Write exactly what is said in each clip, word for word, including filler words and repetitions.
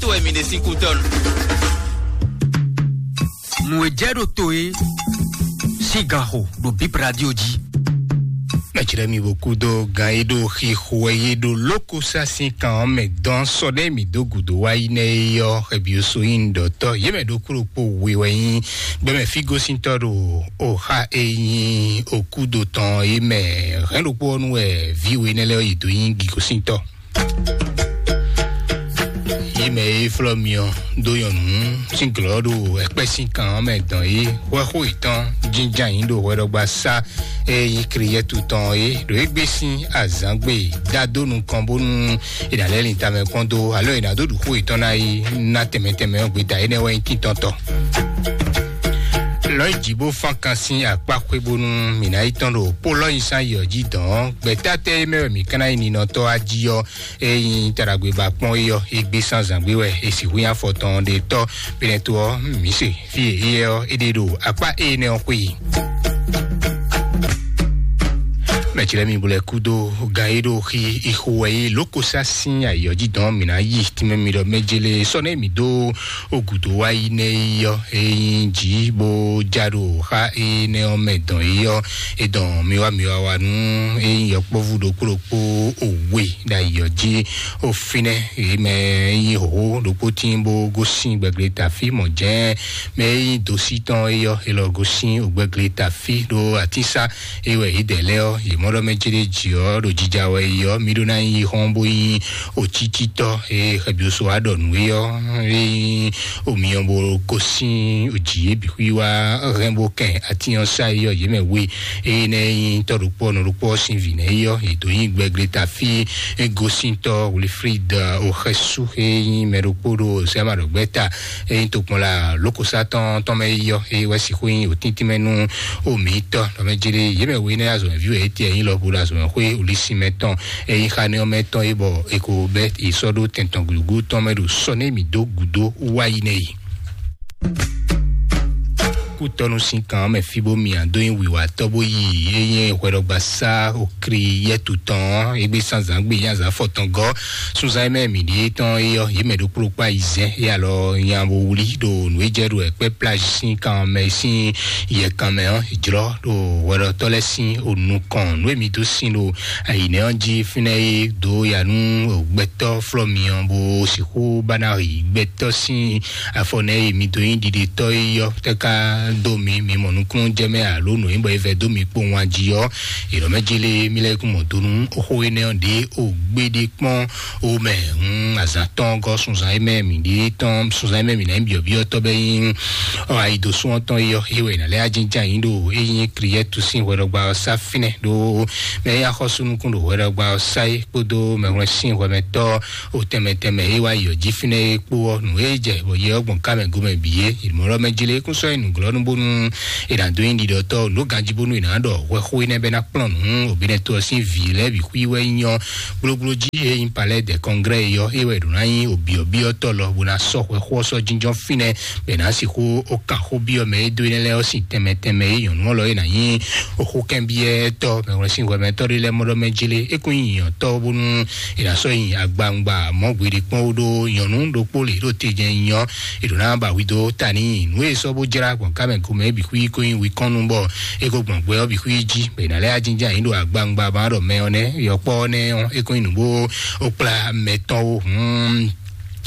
To wɛ mi ɖe sín kú tɔn. Nǔ e jɛ ɖo to e sín gan xo ɖo Bib Radio jí. Mɛjlɛ mi bo kúdó gan e ɖo xixo wɛ yé ɖo lókosá sín kan ɔ́ mɛ dɔn sɔ ɖé mi dó gǔdo wá yi nɛ e yɔ xɛbioso nyi ɖɔtɔ yé mɛ ɖokpó ɖokpó we wɛ nyi gbɛmɛ fígosíntɔ ɖo oxa e nyi okúdo tɔn yé mɛ hɛn ɖokpó ɔ́ nu wɛ vǐ we nɛ lɛ yi dó nyi gigosíntɔ. Yé mɛ e flɔ́ mi ɔ́ dó nyɔ̌nu sín glɔ́ ɖo ɛkpɛ́ sín kan ɔ́ mɛ dɔn yé hwɛxó yětɔn jínján yín ɖo hwɛɖɔgba sá e nyí Kliyɛ́tu tɔn é ɖo égbé sín azǎngbe dá dó nukɔn bónú è nǎ lɛ́ lin tamɛ kpɔ́n dó alo è nǎ dó ɖu xó yětɔn ná yi ná tɛnmɛ tɛnmɛ ɔ́ gbeta énɛ́ wɛ nyí tíntɔ́ntɔ́. Lɔ̌ yi jǐ bó fán kan sín akpá xwé bónú mǐ ná yi tɔ́n ɖo pó lɔ́ nyi sán yi ɔ́ jí dɔn ɔ́, gbɛ̌ta tɛ́ e mɛ wɛ mǐ ka ná yi ninɔ tɔ́ wá jí ɔ́, ényí taɖagbe ba kpɔ́n é ɔ́, é gbé sán zǎngbé wɛ è sixú nyí afɔ tɔn ɖe tɔ́ Pilato ɔ́, mǐ se fí e éyɛ́ ɔ́, é ɖe ɖo akpá énɛ́ ɔ́ xwé yi. Mɛ̌ lɛ́ɛ mi bo lɛ́ kúdó gán e ɖo xi ixo wɛ é lǒkosá sín ayǐ ɔ́ jí dɔn mǐ ná yi tínmɛ mi ɖɔ mɛ jélé sɔ́ nɛ́ mǐ dó ogǔdo wá yi nɛ́ yi ɔ́, é nyí jǐ bó já ɖo xá énɛ́ ɔ́ mɛ dɔn yi ɔ́, é dɔn mi wá mi wá wá nú é nyí yɔkpɔ́vú ɖokpó ɖokpó òwe ɖo ayǐ ɔ́ jí. Ó fínɛ́, yě mɛ e nyí hǒhó ɖokpó tíin bó gosín gbɛgbléta fí mɔ̌ jɛ́n mɛ e nyí dosí tɔn é yɔ́, é lɔ gosín ògbɛgbléta fí ɖó atínsá é wɛ yě dɛ lɛ́ɛ ɔ́, yě mɔ ɖɔ mɛ céɖéjì ɔ́ ɖo jija wɛ yi ɔ́, mí ɖó ná nyí xɔ́n bó nyí òcícítɔ́ e xɛbyóso wá ɖɔ nǔ é ɔ́, é nyí omiyɔ bó gosín òjì é bǐ xwí wá hɛn bó kɛn atín ɔ́ sá é yɔ́, yě mɛ we. Eye nɛ nyi tɔ́ ɖokpó ɔ́, nɔ ɖokpó ɔ́ sín vǐ nɛ́ yɔ́, yě dó nyí gbɛgbléta fí é gosíntɔ́ Wilfrid Oxɛsu, é nyí mɛ ɖokpó ɖo Sɛmaɖɔgbɛ́ta, é nyí tokpɔnla lókosátɔn tɔn mɛ yɔ́, é wɛ sixú nyí òtíntín mɛ nú omǐtɔ́. Nɔ mɛ jélé yě mɛ we nɛ́ azɔ̌mɛví wɛ é tiɛ nyí lɔ bó ɖo azɔ̌mɛxwé olísin mɛ tɔn, é nyí xanɛ́ ɔ́ mɛ tɔn é bɔ è ko bɛ́ è sɔ́ ɖó tɛn tɔn gǔgú tɔn mɛ ɖo sɔ́ nɛ́ mǐ dó gǔdo wá yi nɛ yi. Kútɔ́nú sín kan ɔ́ mɛ fí bó mi ǎ dó nyí wǐwatɔ́ bó yi é nyí hwɛɖɔgbasá okri yɛ́tu tɔn ɔ́, égbé sán zǎn gbe nyí azǎn fɔtɔn gɔ́. Sunzán e mɛ mǐ ɖíe tɔn é ɔ́, yě mɛ ɖokpó ɖokpó ayizɛ́n é alɔ nya bo wlí ɖo nǔ e jɛ ɖo ɛkpɛ́ plage sín kan ɔ́ mɛ sín yɛkan mɛ ɔ́, jlɔ́ ɖo hwɛɖɔtɔ́ lɛ́ɛ sín onukɔn. Nǔ e mi dó sin ɖo ayǐnɛ́ ɔ́ jí fínɛ́ é dó ya nú gbɛtɔ́ flɔ́ mi ɔ́, bó sixú ba ná yi gbɛtɔ́ sín afɔ nɛ́ e mi dó nyí ɖiɖetɔ́ é yɔ́ tɛ́ ká dó mi, mi mɔ nukúnnú jɛ mɛ alo nǔ e bɔ é vɛ dó mi kpowun a jí ɔ́, è nɔ mɛ jélé mi lɛ́ kún mɔ dó nú xó énɛ́ ɔ́ ɖě o gbéɖé kpɔ́n o mɛ. Hun azǎn tɔn gɔ́ sunzan e mɛ mǐ ɖe tɔn sunzan e mɛ mǐ ná nyí byɔ̌byɔ́tɔ́ bɛ́ nyí ɔ ayidosún ɔ́ tɔn é yɔ́ é wɛ è nǎ lɛ́ ajínján yǐ ɖo é nyí Kliyɛ́tu sín hwɛɖɔgba ɔ́ sá fínɛ́ ɖó mɛ e axɔ́sú nukún ɖo hwɛɖɔgba ɔ́ sá é kpódó mɛhwlɛ́n sín hwɛmɛtɔ́ o tɛnmɛ tɛnmɛ e wá yi ɔ́ jí fínɛ́ é kpó ɔ́, nǔ e jɛ bɔ yɛ ɔ́ gbɔn ká mɛ gomɛ bǐ é. Mɔ̌ lɔ mɛ jlé kún sɔ́ yi nǔglɔ́nú bónú è nǎ dó nyí ɖiɖɔtɔ́ nǔ ganjí bónú è nǎ ɖɔ hwɛxó énɛ́ bɛ ná kplɔ́n nǔ òbínɛtɔ́ ɔ́ sín vǐ lɛ́ɛ bǐ xwí wɛ nyí ɔ́. Gblógbló jí e nyí palɛ́ dɛ kɔnglɛ́ é yɔ́ é wɛ ɖǒ ná nyí òbyɔ̌byɔ́tɔ́ lɔ bó ná sɔ́ hwɛxó ɔ́ sɔ́ jínjɔ́n fínɛ́ bɔ è nǎ sixú ó kan xó byɔ́ mɛ e dó énɛ́ lɛ́ɛ ɔ́ sín tɛnmɛ tɛnmɛ e nyɔ̌nu ɔ́ lɔ é ná nyí xókɛ́nbyɔ́tɔ́ mɛhwlɛ́n sín hwɛmɛtɔ́ ɖé lɛ́ɛ mɔ ɖɔ mɛ jlé é kún nyí nyɔ̌tɔ́ bónú è nǎ sɔ́ nyi agbawungba mɔ̌ gbeɖé kpɔ́n ó ɖó nyɔ̌nu ɖokpó lě ɖo te jɛ́n nyí ɔ́, è ɖǒ ná ba hwi dó ta n'i. Nǔ e è sɔ́ bó jlá gbɔn ká mɛ gomɛ bǐ xwí kó nyí wikɔ́nnu bɔ é ko gbɔn gbɛ ɔ́ bǐ xwí jí bɔ è nǎ lɛ́ ajínján yǐ ɖo agbawungba ba ɖɔ mɛ ɔ́ nɛ́ yɔkpɔ́ ɔ́ nɛ́ ɔ́, é kó nyí nǔ bó ó kplá mɛ tɔn ó. Hǔn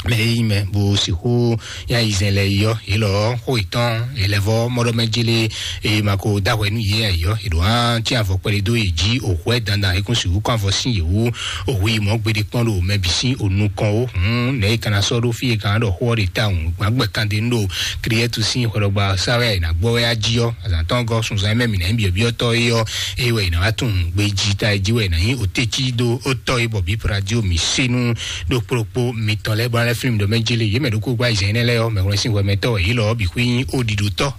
mɛ e nyí mɛ bó sixú nyí ayizɛ́n lɛ́ɛ yi ɔ́, yě lɔ ɔ́, xó yětɔn yě lɛ́ vɔ́ mɔɖɔmɛ jélé e ma ko dó ahwɛ nú yě ǎ yi ɔ́, è ɖǒ hán cyɛ́n avɔ kpɛɖé dó yě jí òhwɛ́ dandan é kún sixú kɔn avɔ sín yě wú. Òhu yi mɔ̌ gbeɖé kpɔ́n ɖo mɛ bǐ sín onukɔn ó. Hǔn nɛ̌ è ka ná sɔ́ ɖó fí e ka ná ɖɔ xó ɔ́ ɖe tawun gbǎn gbɛ̀kandenu ɖo Kliyɛ́tu sín hwɛɖɔgba ɔ́ sá wɛ è nǎ gbɔ wɛ á jí ɔ́, azǎn tɔn gɔ́ sunzan e mɛ mǐ ná nyí byɔ̌byɔ́tɔ́ é ɔ́, é wɛ è nǎ wá tunwun gbejí ta é jí wɛ è nǎ nyí otécí dó ó tɔ́ é bɔ bǐ Pradio mǐ sé nú ɖo kplɔ́kpó mitɔn lɛ́ɛ bó ná lɛ́ flín mi ɖɔ mɛ jélé yě mɛ ɖokpó gbá yi zɛ̌n énɛ́ lɛ́ɛ ɔ́, mɛhwlɛ́n sín hwɛmɛtɔ́ wɛ yě lɔ ɔ́ bǐ xwé nyí ó ɖiɖotɔ́.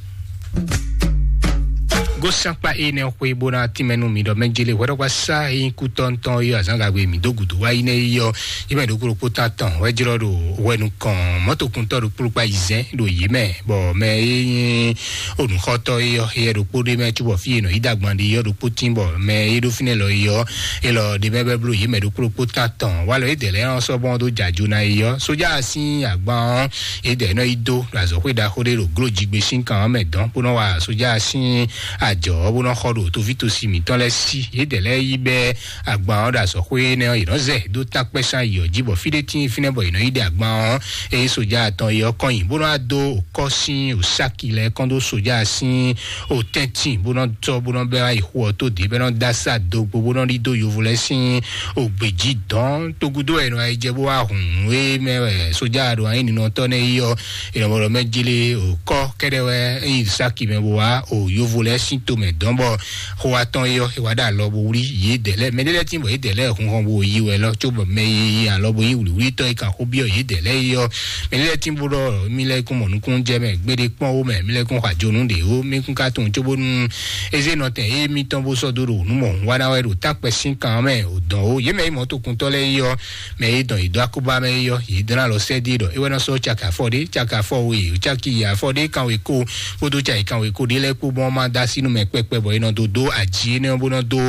Ó sán kpá énɛ́ xwé bó ná tínmɛ nú mi ɖɔ mɛ jele hwɛɖɔkpá sá é nyí kútɔ́ ŋutɔn é azǎn gagbe mǐ dó gǔdo wá yi nɛ́ yi ɔ́, yi mɛ ɖokpó ɖokpó tán tɔn wɛ jlɔ́ ɖo hwɛ nukɔn mɔ̌tokúntɔ́ ɖokpó ɖokpó ayizɛ́n ɖo yě mɛ, bɔ mɛ é nyí onǔxɔtɔ́ é ɔ́, éyɛ́ ɖokpó ɖé mɛ cóbɔ fí e nɔ yi dó agban ɖe é ɔ́ ɖokpó tín, bɔ mɛ é ɖó fínɛ́ lɔ é ɔ́, é lɔ ɖe mɛ bɛ́ bló yě mɛ ɖokpó ɖokpó tán tɔn. Walɔ é dɛ̌ lɛ́ɛ ɔ́ sɔ́ bɔn dó jɛ ajo ná é ɔ́, sójà sín agban ɔ́, é dɛ̌ nɔ yi dó ɖo azɔ̌xwé ɖaxó ɖé ɖo gló jigbe sín kan ɔ́ mɛ dɔn, bó nɔ wa sójà sín ajɔ ɔ́ bó nɔ xɔ ɖo toví tosi mǐtɔn lɛ́ɛ sí. Yědɛɛ lɛ́ɛ yí bɛ́ agban ɔ́ ɖo azɔ̌xwé énɛ́ ɔ́, yě nɔ zɛ dó tákpɛ́sán yi ɔ́ jí, bɔ fí ɖé tíin fínɛ́ bɔ yě nɔ yi ɖe agban ɔ́. Eye sójà atɔn yi ɔ́ kɔn nyi bó nɔ wá dó kɔ́ sín òsáki lɛ́ɛ kɔn dó sójà sín òtɛ́ntin bó nɔ tɔ́ bó nɔ bɛ́ wá yi xu ɔ́ tó dě bɛ́ nɔ dó asá dogbo bó nɔ ɖi dó yovo lɛ́ɛ sín ògbě jí dɔn. Togudo wɛ è nɔ yi jɛ bó wá hun nǔ e mɛ wɛ sójà ɖo anyí ninɔtɔ́ nɛ́ yi ɔ́, è nɔ bɔ ɖɔ mɛ jele òkɔ kɛɖɛ wɛ é yi sáki mɛ bó wá o yovo lɛ́ɛ sín tomɛ dɔn bɔ xó atɔn yi ɔ́, é wá ɖo alɔ bó wlí yě dɛ̌ lɛ́ɛ. Mɛ ɖé lɛ́ɛ tín bɔ yě dɛ̌ lɛ́ɛ hun hɔn bó yi wɛ lɔ, có bɔ mɛ yi alɔ bó yí wlǐwlítɔ́ yi kan xó byɔ́ yě dɛ̌ lɛ́ɛ yi ɔ́, mɛ ɖé lɛ́ɛ tín bó ɖɔ mí lɛ́ɛ kún mɔ nukún jɛ mɛ gbéɖé kpɔ́n ó mɛ, mí lɛ́ɛ kún xɔ ajonu ɖě ó, mí kún ka tunwun cóbónú é zé nɔtɛn émítɔn bó sɔ́ dó ɖo nǔ mɔ hun wá ná wɛ ɖo tákpɛ sín kan mɛ ò dɔn ó. Yě mɛ yi mɔ̌tokuntɔ́ lɛ́ɛ yi ɔ́, mɛ e dɔn yě dó akóbá mɛ é ɔ́, yě dlán alɔ sɛ́ dí ɖɔ é wɛ nɔ sɔ́ caki afɔ ɖé, caki afɔ we, caki yi afɔ ɖé, kanwekó kpódó caki kanwekó ɖé lɛ́ɛ kpó bɔn má dó así nú mɛ kpɛkpɛ bɔ é nɔ dó dó aji énɛ́ ɔ́ bó nɔ dó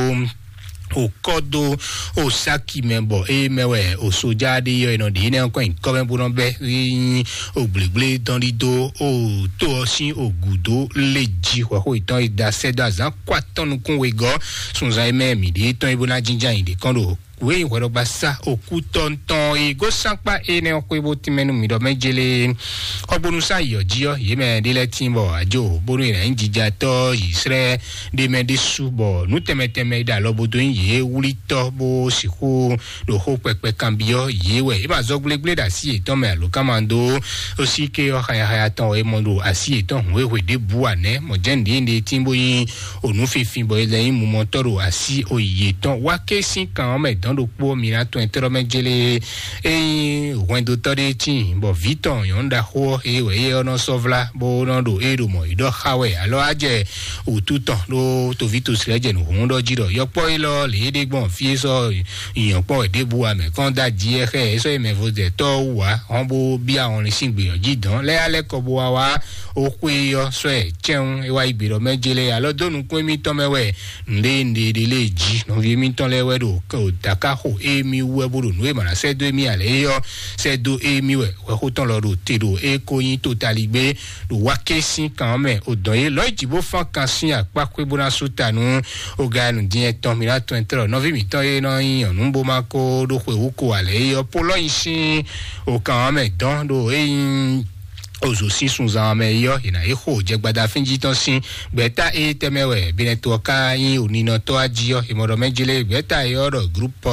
òkɔ dó òsáki mɛ bɔ é mɛ wɛ òsojá ɖé yɔ é nɔ ɖe énɛ́ ɔ́ kɔn nyǐkɔ mɛ bó nɔ bɛ́ é nyí ògblégblédɔn ɖídó òtó ɔ́ sín ògǔdó lé jí hwɛxó yětɔn e da sɛ́ dó azǎn kó atɔn nukún wegɔ́ sunzan e mɛ mǐ ɖe tɔn e bó ná jínjɔ́n ayǐ ɖě kɔn ɖo wěyi hwɛɖɔgba sá òkú tɔntɔn e gosán kpá énɛ́ ɔ́ xwé bó tínmɛ nú mǐ ɖɔ mɛ jélé xɔgbónú sá yɔ jí ɔ́, yě mɛ ɖé lɛ́ɛ tín bɔ ajo bónú è nǎ nyí jijatɔ́ yǐsrɛ́ ɖé mɛ ɖésú bɔ nǔ tɛnmɛ tɛnmɛ e ɖo alɔ bó dó nyí yě wlítɔ́ bó sixú ɖo xó kpɛkpɛ kanbyɔ́ yě wɛ. É ma zɔ gblégblé ɖo así yětɔn mɛ alo ká ma dó ó sí ké ɔ́ xayaxaya tɔn wɛ é mɔ ɖo así yětɔn hǔn e hwe ɖěbǔ ǎ nɛ́. Mɔ̌ jɛ́n nǔɖé nɖe tín bó nyí onú finfin bɔ è lɛ nyí mumɔtɔ́ ɖo así oyǐ yětɔn. Wá ké sín kan ɔ́ mɛ dɔn ɖokpó ɔ́, mi ná tɔn ɛ tlɔ́ mɛ jélé. Ényí hwɛndotɔ́ ɖé tíin bɔ vǐ tɔn nyɔ̌nu ɖaxó ɔ́, é wɛ é ɔ́ nɔ sɔ́ vlá bó nɔ ɖo é ɖo mɔ̌ yi ɖɔ xa wɛ alɔ á jɛ wǔtu tɔn ɖó toví tosi lɛ́ɛ jɛ nǔ hlún ɖɔ jí ɖɔ yɔkpɔ́ élɔ́ lě é ɖe gbɔn fí é sɔ́ nyɔ̌kpɔ́ wɛ ɖěbǔ ǎ mɛ kɔn dó aji ɛ xɛ é sɔ́ yi mɛvɔzɛtɔ́ ɔ́ wú ǎ, hɔn bó byá hɔnlin sín gbě ɔ́ jí dɔn lɛ́ alɛ kɔ bó wá wá ó xwé ɔ́ sɔ́ ɛ cɛ́n é wá yi gbe ɖɔ mɛ jélé alɔ dó nukún émítɔn mɛ wɛ nɖé nɖé ɖé lé jí nɔví émítɔn lɛ́ɛ wɛ ɖo dakaxo émí wú wɛ bó ɖo nǔ e mǎ ná sɛ́ dó émí ǎ lě é ɔ́ sɛ́ dó émí wɛ hwɛxó tɔn lɔ ɖo te ɖo é ko nyí totaligbé ɖo wá ké sín kan ɔ́ mɛ. O dɔn yé lɔ̌ yi jǐ bó fán kan sín akpá xwé bó ná sú ta nú o ga nǔ din ɛtɔn mi ná tɔn ɛ tlɔ nɔví mǐtɔn e nɔ nyi nyɔ̌nu bó má kó ɖó xwe wú ko ǎ lě é ɔ́ pó lɔ́ nyi sín o kan ɔ́ mɛ dɔn ɖo é nyí ozo sín sunzan mɛ yɔ yina yi xo jɛ gbada fínjí tɔn sín gbɛta e tɛmɛ wɛ binɛtɔ ka nyi oninɔtɔ aji yɔ imɔdɔ mɛ jele gbɛta yɔ ɖɔ groupe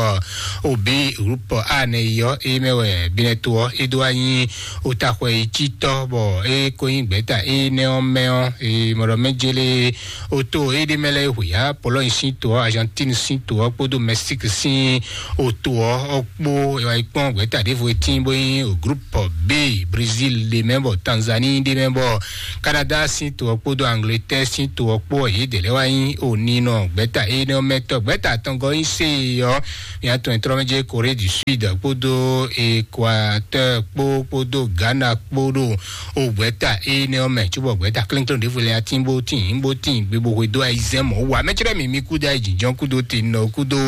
obi groupe a nɛ yɔ e mɛ wɛ binɛtɔ e do anyi otaxɔ yi titɔ bɔ e ko nyi gbɛta e nɛ ɔ mɛ ɔ imɔdɔ mɛ jele oto e ɖe mɛ lɛ hwe ya Pologne sín to ɔ, Argentine sín to ɔ kpódó Mexique sín oto ɔ kpó e wá yi kpɔn gbɛta ɖěvo e tín bó nyi groupe B, Brésil ɖe mɛ bɔ Tanzanie ɖe mɛ bɔ Canada sín to ɔ kpódó Angleterre sín to ɔ kpó ɔ yě dě lɛ́ wá nyi oninɔ gbɛta énɛ́ ɔ́ mɛ tɔn gbɛta atɔngɔ nyi se ɔ mía tɔn trɔmɛdze Corée du Sud kpódó Équateur kpó kpódó Ghana kpó ɖo o gbɛta énɛ́ ɔ́ mɛ cóbɔ gbɛta klɛ́nklɛ́n ɖěvo lɛ́ɛ atín bó tín bó tín gbe bó hwe dó ayizɛ́n mɔ̌ wá mɛ cɛ́ɖɛ́ mǐ mí kúdó ayijǐjɔ́n kúdó tenɔ kúdó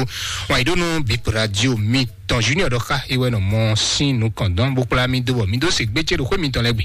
wǎn yí ɖó nú bip radio mi tɔn junior ɖɔ xá é wɛ nɔ mɔ sín nukɔn dɔn bó kplá mì dó bɔ mì dó se gbé ce ɖo xwé mitɔn lɛ́ɛ gbe.